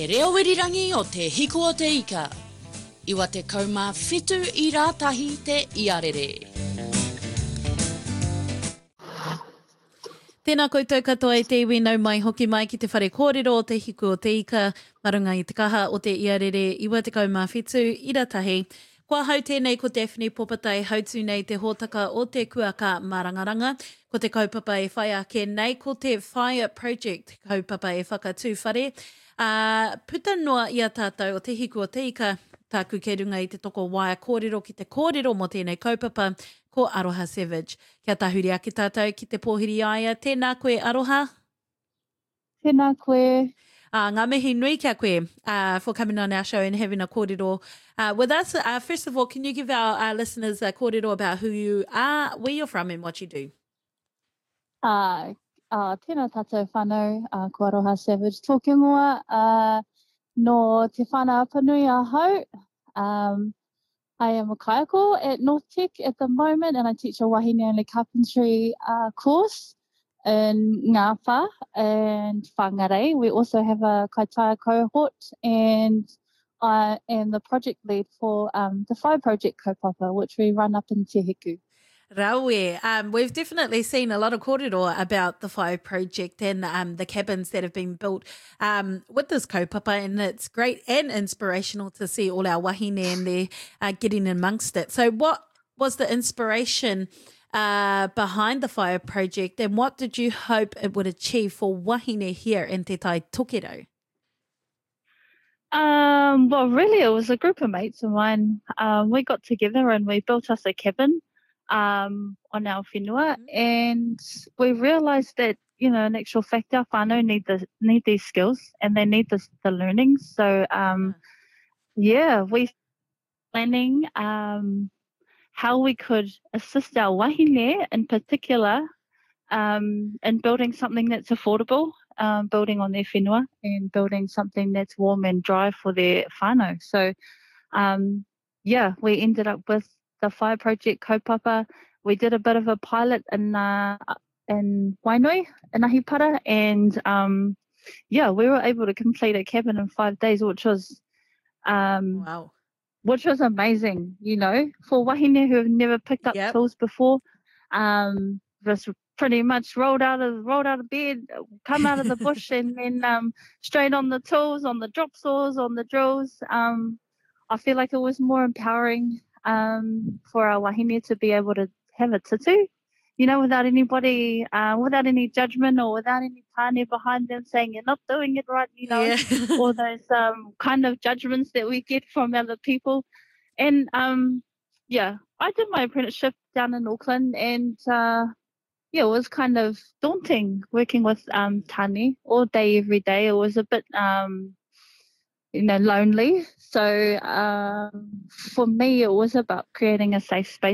Te reo irirangi o Te Hiku o Te Ika, 97 i rātahi te iarere. Tēnā koutou katoa e te iwi nau mai hoki mai ki te whare kōrero o Te Hiku o Te Ika ma runga i te kaha o te iarere 97 ira tahi. Ko ahau tēnei ko Daphne Popata e hautū nei te hōtaka o Te Kuaka Mārangaranga. Ko te kaupapa e whai ake nei ko te Whaia Project, kaupapa e whakatū whare, ā, puta noa i a tātou o Te Hiku o Te Ika, tāku kei runga i te toko waea kōrero ki te kōrero mō tēnei kaupapa, ko Aroha Savage. Kia tahuri ake tātou ki te pōhiri i a ia, tēnā koe Aroha. Tēnā koe. Uh, ngā mihi nui kia koe uh, for coming on our show and having a kōrero uh, with us. Uh, first of all, can you give our uh, listeners a kōrero about who you are, where you're from and what you do? Uh, uh, tēnā tātou whānau, uh, ko Aroha Savage tōku ingoa, uh, no Te Whānau Apanui ahau. Um, I am a kaiako at North Tech at the moment and I teach a wahine only carpentry uh, course in Ngāwhā and Whangarei. We also have a kaitaia cohort and I am the project lead for um, the Fire Project kaupapa, which we run up in Te Hiku. Rawe. Um, we've definitely seen a lot of kōrero about the Fire Project and um, the cabins that have been built um, with this kaupapa, and it's great and inspirational to see all our wahine in there uh, getting amongst it. So what was the inspiration uh, behind the Fire Project and what did you hope it would achieve for wahine here in Te Tai Tokerau? Um, well, really, it was a group of mates of mine. Um, we got together and we built us a cabin um, on our whenua, mm-hmm. and we realised that you know, in actual fact, our whānau need the need these skills and they need this, the learning. So, um, yeah, we planning um, how we could assist our wahine in particular um, in building something that's affordable, um, building on their whenua and building something that's warm and dry for their whānau. So, um, yeah, we ended up with the Fire Project kaupapa. We did a bit of a pilot in, uh, in Wainui, in Ahipara, and um, yeah, we were able to complete a cabin in five days, which was um, wow. Which was amazing, you know, for wahine who have never picked up yep. tools before. Um, just pretty much rolled out of rolled out of bed, come out of the bush, and then um, straight on the tools, on the drop saws, on the drills. Um, I feel like it was more empowering um, for our wahine to be able to have a tutu, you know, without anybody, uh, without any judgment or without any tāne behind them saying you're not doing it right, you know, yeah. all those um, kind of judgments that we get from other people. And um, yeah, I did my apprenticeship down in Auckland and uh, yeah, it was kind of daunting working with um, Tani all day, every day. It was a bit, um, you know, lonely. So um, for me, it was about creating a safe space.